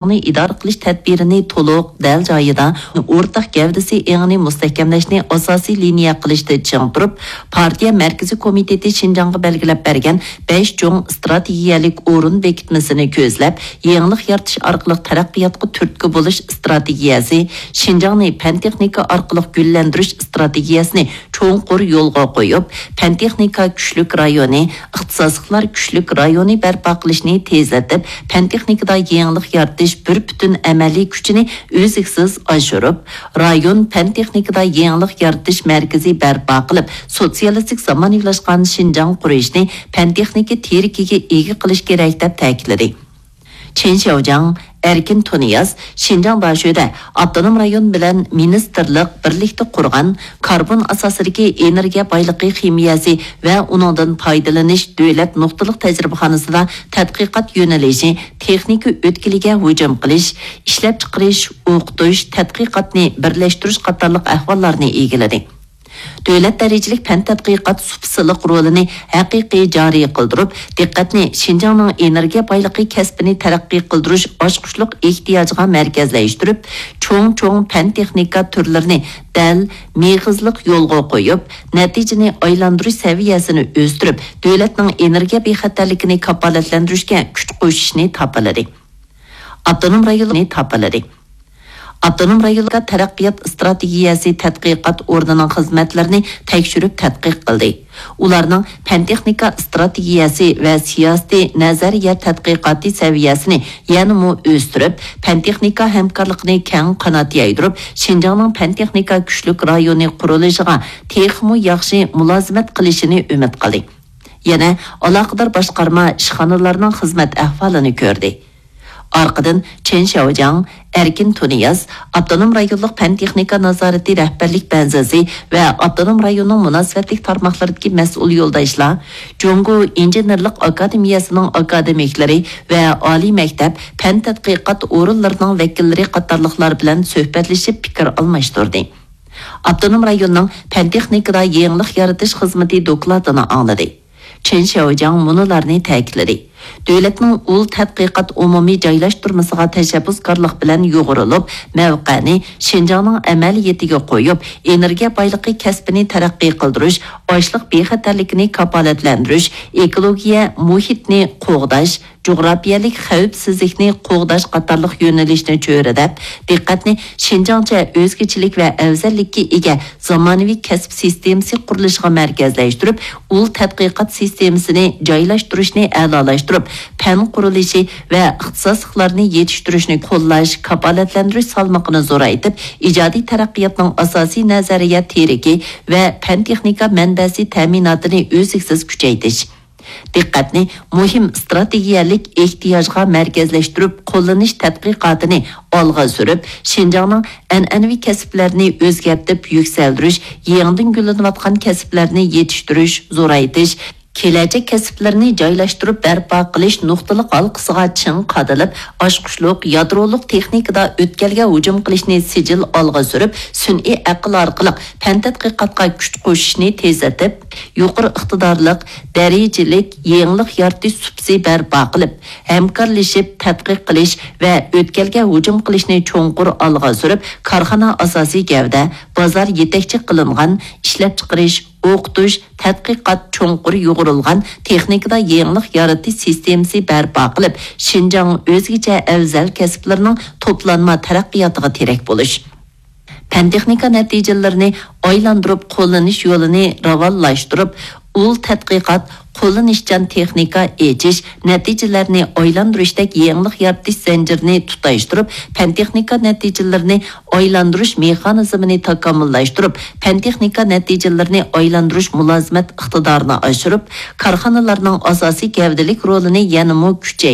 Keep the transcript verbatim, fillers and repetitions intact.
ئىدارە قىلىش تەدبىرىنى تولۇق، دەل جايىدا، ئورتاق گەۋدىسى ئېڭىنى مۇستەھكەملەشنى ئاساسىي لىنىيە قىلىشتا چىڭ تۇرۇپ، پارتىيە مەركىزىي كومىتېتى شىنجاڭغا بەلگىلەپ بەرگەن بەش چوڭ ئىستراتېگىيەلىك ئورۇن بېكىتمىسىنى كۆزلەپ، يېڭىلىق يارىتىش ئارقىلىق تەرەققىياتقا تۈرتكە بولۇش ئىستراتېگىيەسى، شىنجاڭنى پەن-تېخنىكا ئارقىلىق گۈللەندۈرۈش ئىستراتېگىيەسىنى چوڭقۇر يولغا قويۇپ، پەن-تېخنىكا كۈچلۈك رايونى، ئىختىساسلىقلار كۈچلۈك رايونى بەرپا قىلىشنى تېزلىتىپ، پەن-تېخنىكىدا يېڭىلىق يارىتىش بىر پۈتۈن ئەمەلىي كۈچىنى ئۈزلۈكسىز ئاشۇرۇپ، رايون پەن-تېخنىكىدا يېڭىلىق يارىتىش مەركىزى بەرپا قىلىپ، سوتسىيالىستىك زامانىۋىلاشقان شىنجاڭ قۇرۇشنى پەن-تېخنىكا تىرىكىگە ئىگە قىلىش كېرەك، دەپ تەكىتلىدى. چېن شياۋجياڭ، ئەركىن تۇنىياز شىنجاڭ داشۆدە ئاپتونوم رايون بىلەن مىنىستىرلىق بىرلىكتە قۇرغان كاربون ئاساسىدىكى ئېنېرگىيە بايلىقى خىمىيەسى ۋە ئۇنىڭدىن پايدىلىنىش دۆلەت نۇقتىلىق تەجرىبىخانىسىدا تەتقىقات يۆنىلىشى تېخنىكا ئۆتكىلىگە ھۇجۇم قىلىش، ئىشلەپچىقىرىش، ئوقۇتۇش، تەتقىقاتنى بىرلەشتۈرۈش قاتارلىق ئەھۋاللارنى ئىگىلىدى. دۆلەت دەرىجىلىك پەن تەتقىقات سۇپىسىلىق رولىنى ھەقىقىي جارى قىلدۇرۇپ، دىققەتنى شىنجاڭنىڭ ئېنېرگىيە بايلىقى كەسپىنى تەرەققىي قىلدۇرۇش ئاچقۇچلۇق ئېھتىياجىغا مەركەزلەشتۈرۈپ، چوڭ-چوڭ پەن-تېخنىكا تۈرلىرىنى دەل، مېغىزلىق يولغا قويۇپ، نەتىجىنى ئايلاندۇرۇش سەۋىيەسىنى ئۆستۈرۈپ، دۆلەتنىڭ ئېنېرگىيە بىخەتەرلىكىنى كاپالەتلەندۈرۈشكە كۈچ قوشۇشنى تاپىلىدى. ئاپتونوم رايونلۇقنى تاپىلىدى. ئاپتونوم رايونلۇق تەرەققىيات ئىستراتېگىيەسى تەتقىقات ئورنىنىڭ خىزمەتلىرىنى تەكشۈرۈپ تەتقىق قىلدى. ئۇلارنىڭ پەن-تېخنىكا ئىستراتېگىيەسى ۋە سىياسىتى نەزەرىيە تەتقىقاتى سەۋىيەسىنى يەنىمۇ ئۆستۈرۈپ، پەن-تېخنىكا ھەمكارلىقىنى كەڭ قانات يايدۇرۇپ، شىنجاڭنىڭ پەن-تېخنىكا كۈچلۈك رايونى قۇرۇلۇشىغا تېخىمۇ ياخشى مۇلازىمەت قىلىشىنى ئۈمىد قىلدى. يەنە ئالاقىدار باشقارما ئىشخانىلارنىڭ خىزمەت ئەھۋالىنى كۆردى. ئارقىدىن چېن شياۋجياڭ، ئەركىن تۇنىياز، ئاپتونوم رايونلۇق پەن-تېخنىكا نازارىتى رەھبەرلىك بەنزىسى ۋە ئاپتونوم رايوننىڭ مۇناسىۋەتلىك تارماقلىرىدىكى مەسئۇل يولداشلار جۇڭگو ئىنژېنېرلىق ئاكادېمىيەسىنىڭ ئاكادېمىكلىرى ۋە ئالىي مەكتەپ، پەن تەتقىقات ئورۇنلىرىنىڭ ۋەكىللىرى قاتارلىقلار بىلەن سۆھبەتلىشىپ پىكىر ئالماشتۇردى. ئاپتونوم رايوننىڭ پەن-تېخنىكىدا يېڭىلىق يارىتىش خىزمىتى دوكلاتىنى ئاڭلىدى. چېن شياۋجياڭ مۇنۇلارنى تەكىتلىدى. دۆلەتنىڭ ئۇل تەتقىقات ئومۇمىي جايلاشتۇرمىسىغا تەشەببۇسكارلىق بىلەن يۇغۇرۇلۇپ، مەۋقەنى شىنجاڭنىڭ ئەمەلىيىتىگە قويۇپ، ئېنېرگىيە بايلىقى كەسپىنى تەرەققىي قىلدۇرۇش، ئاشلىق بىخەتەرلىكىنى كاپالەتلەندۈرۈش، ئېكولوگىيە مۇھىتنى قوغداش، جۇغراپىيەلىك خەۋپسىزلىكنى قوغداش قاتارلىق يۆنىلىشنى چۆرىدەپ، دىققەتنى شىنجاڭچە ئۆزگىچىلىك ۋە ئەۋزەللىككە ئىگە زامانىۋى كەسىپ سىستېمىسى قۇرۇلۇشىغا مەركەزلەشتۈرۈپ، ئۇل تەتقىقات سىستېمىسىنى جايلاشتۇرۇشنى ئەلالاشتۇرۇپ، پەن قۇرۇلۇشى ۋە ئىختىساسلىقلارنى يېتىشتۈرۈشنى قوللاش، كاپالەتلەندۈرۈش سالمىقىنى زورايتىپ، ئىجادىي تەرەققىياتنىڭ ئاساسىي نەزەرىيە تىرىكى ۋە پەن-تېخنىكا مەنبەسى تەمىناتىنى ئۈزلۈكسىز كۈچەيتىش. دىققەتنى مۇھىم ئىستراتېگىيەلىك ئېھتىياجغا مەركەزلەشتۈرۈپ، قوللىنىش تەتقىقاتىنى ئالغا سۈرۈپ، شىنجاڭنىڭ ئەنئەنىۋى كەسىپلەرنى ئۆزگەرتىپ يۈكسەلدۈرۈش، يېڭىدىن گۈللىنىۋاتقان كەسىپلەرنى يېتىشتۈرۈش، زورايتىش، كېلەچەك كەسىپلىرىنى جايلاشتۇرۇپ بەرپا قىلىش نۇقتىلىق ھالقىسىغا چىڭ قادىلىپ، ئاچقۇچلۇق يادرولۇق تېخنىكىدا ئۆتكەلگە ھۇجۇم قىلىشنى سىجىل ئالغا سۈرۈپ، سۈنئىي ئەقىل ئارقىلىق پەن تەتقىقاتقا كۈچ قوشۇشنى تېزلىتىپ، يۇقىرى ئىقتىدارلىق، دەرىجىلىك يېڭىلىق يارىتىش سۇپىسى بەرپا قىلىپ، ھەمكارلىشىپ تەتقىق قىلىش ۋە ئۆتكەلگە ھۇجۇم قىلىشنى چوڭقۇر ئالغا سۈرۈپ، كارخانا ئاساسىي گەۋدە، بازار يېتەكچى قىلىنغان ئىشلەپچىقىرىش، ئوقۇتۇش، تەتقىقات چوڭقۇر يۇغۇرۇلغان تېخنىكىدا يېڭىلىق يارىتىش سىستېمىسى بەرپا قىلىپ، شىنجاڭ ئۆزگىچە ئەۋزەل كەسىپلىرىنىڭ توپلانما تەرەققىياتىغا تىرەك بولۇش. پەن-تېخنىكا نەتىجىلىرىنى ئايلاندۇرۇپ قوللىنىش يولىنى راۋانلاشتۇرۇپ، ئۇل تەتقىقات، قوللىنىشچان تېخنىكا ئېچىش، نەتىجىلەرنى ئايلاندۇرۇشتەك يېڭىلىق يارىتىش زەنجىرىنى تۇتاشتۇرۇپ، پەن-تېخنىكا نەتىجىلىرىنى ئايلاندۇرۇش مېخانىزمىنى تاكامۇللاشتۇرۇپ، پەن-تېخنىكا نەتىجىلىرىنى ئايلاندۇرۇش مۇلازىمەت ئىقتىدارىنى ئاشۇرۇپ، كارخانىلارنىڭ ئاساسىي گەۋدىلىك رولىنى يەنىمۇ كۈچەيتىپ،